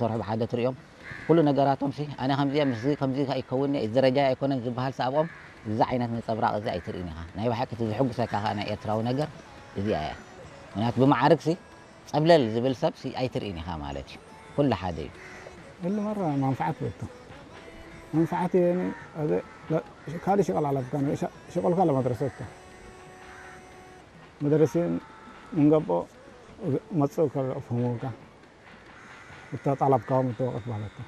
ሰርሑ ብሓደ ትሪኦም ኩሉ ነገራቶም ሲ ኣነ ከምዚኣ ምስዚ ከምዚ ኣይከውን እዚ ደረጃ ኣይኮነን ዝበሃል ሰኣብኦም እዚ ዓይነት ነፀብራቕ እዚ ኣይትርእን ኢኻ። ናይ ብሓቂ እቲ ዝሕጉሰካ ከዓ ናይ ኤርትራዊ ነገር እዚኣ እያ። ምክንያቱ ብማዕርግ ሲ ጸብለል ዝብል ሰብ ሲ ኣይትርእን ኢኻ ማለት እዩ። ኩሉ ሓደ እዩ። اللي مرة منفعة بيته منفعتي يعني هذا لا ካልእ ሽቐል ኣለብካ ሽቐልካ ለመድረሰካ መደረሲን እንገቦ መፅእ ከፍህሙካ እተጣለብካዎም እተወቀት ማለት ነው።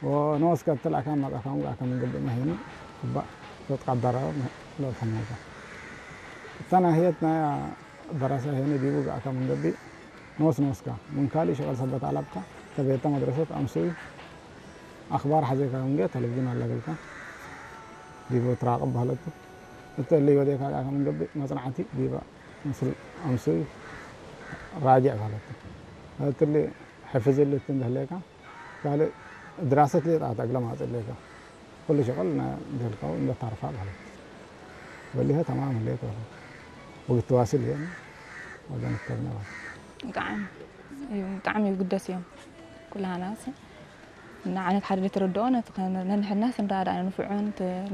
ወነወስከ እትላእካ መጣካም ጋር ከምንግብ መሄኑ እባ ተትቃደረ ለፈሙካ እተናህየት ናይ ደረሰ ሄኒ ዲቡ ጋር ከምንገቢ ንወስ ንወስካ ምን ካልእ ሽቐል ሰበት ኣለብካ ተቤተ መድረሰት ኣምስኡ ኣኽባር ሓዘካ ምንገ ተለቪዥን ኣለብልካ ዲቡ ትራቕብ ባህለቱ እተሊ ወዴካ ጋር ከምንገቢ መጽናዕቲ ዲባ ምስል ኣምስኡ ራጅዕ ባህለቱ እትሊ ሕፍዝልት እንደህሌካ ካልእ ድራሰት ሌጣ ተግለ ማጽሌካ ኩሉ ሽቕል ደልካው እንደታርፋ ባህለቱ ወሊሀ ተማም ህሌት ባህለቱ ወግትዋስል እየን ወደንከብነ ባህለቱ ብጣዕሚ እዩ ብጣዕሚ ይግደስ እዮም ኩላህናስ እና ዓይነት ሓደ ዘይተረድኦ ነቲ ነንሕድናስ ንረዳዳእ ንፍዑን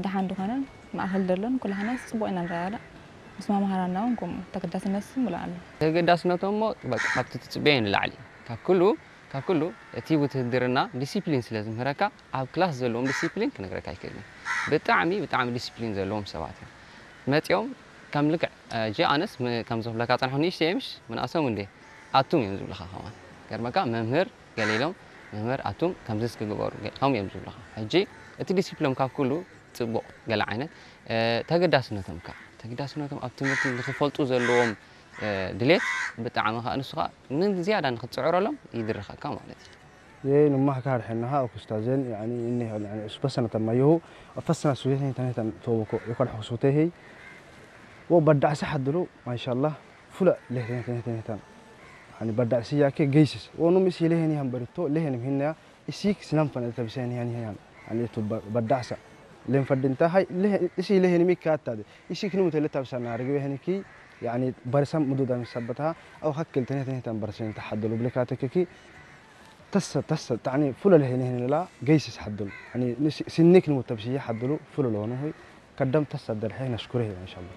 ደሓን ዝኾነን ማእኸል ደሎን ኩላህናስ ፅቡቕ ኢና ንረዳዳእ ምስ መምሃራና እውን ከምኡ ተገዳስነት ስም ኣሎ ተገዳስነቶም እሞ በቃ ካብቲ ትፅበዮ ንላዕሊ ካብ ኩሉ ካብ ኩሉ እቲ ውትህድርና ዲሲፕሊን ስለ ዝምህረካ ኣብ ክላስ ዘለዎም ዲሲፕሊን ክነግረካ ኣይክእልን ብጣዕሚ ብጣዕሚ ዲሲፕሊን ዘለዎም ሰባት እዮም መፂኦም ከም ልክዕ ጂኣነስ ከም ዝብለካ ፀንሑ ንእሽተየምሽ ምንኣሶም እንዴ ኣቱም እዮም ዝብልኻ ከማን ገርመካ መምህር ገለ ኢሎም መምህር ኣቱም ከምዚ እስኪ ግበሩ ገ- ከምኡ እዮም ዝብልኻ ሕጂ እቲ ዲሲፕሎም ካብ ኩሉ ፅቡቕ ገለ ዓይነት እ፣ ተገዳስነቶም ከ ተገዳስነቶም ኣብ ትምህርቲ ንክፈልጡ ዘለዎም እ፣ ድሌት ብጣዕሚ ከ ንሱ ከ ንዝያዳ ንክትፅዕረሎም ይድርኸካ ማለት እዩ Yei numah ka harxennaha akustazen yani inni yani usbasana tamayohu afasana suyehni tanehtan toboko yokal xusutehey wo baddaxsa xadulu mashallah fula lehtenehtenehtan yani baddaxsi yake geysis wo num isi leheni han barito lehenim hinna isik sinam fana tabiseni han han yani tu baddaxsa len faddinta hay isi lehenimi kattade isik num tele tabisa narigi weheniki yani barisam mududan sabbataha aw hakkil tenehtenehtan barisen taxadulu blekatekeki تسا تسا تعني فلو له هنا هنا لا جيسس حدل يعني سنيك نمو تبسيه حدلو فلو لونه هي كدم تسا درحي نشكره إن شاء الله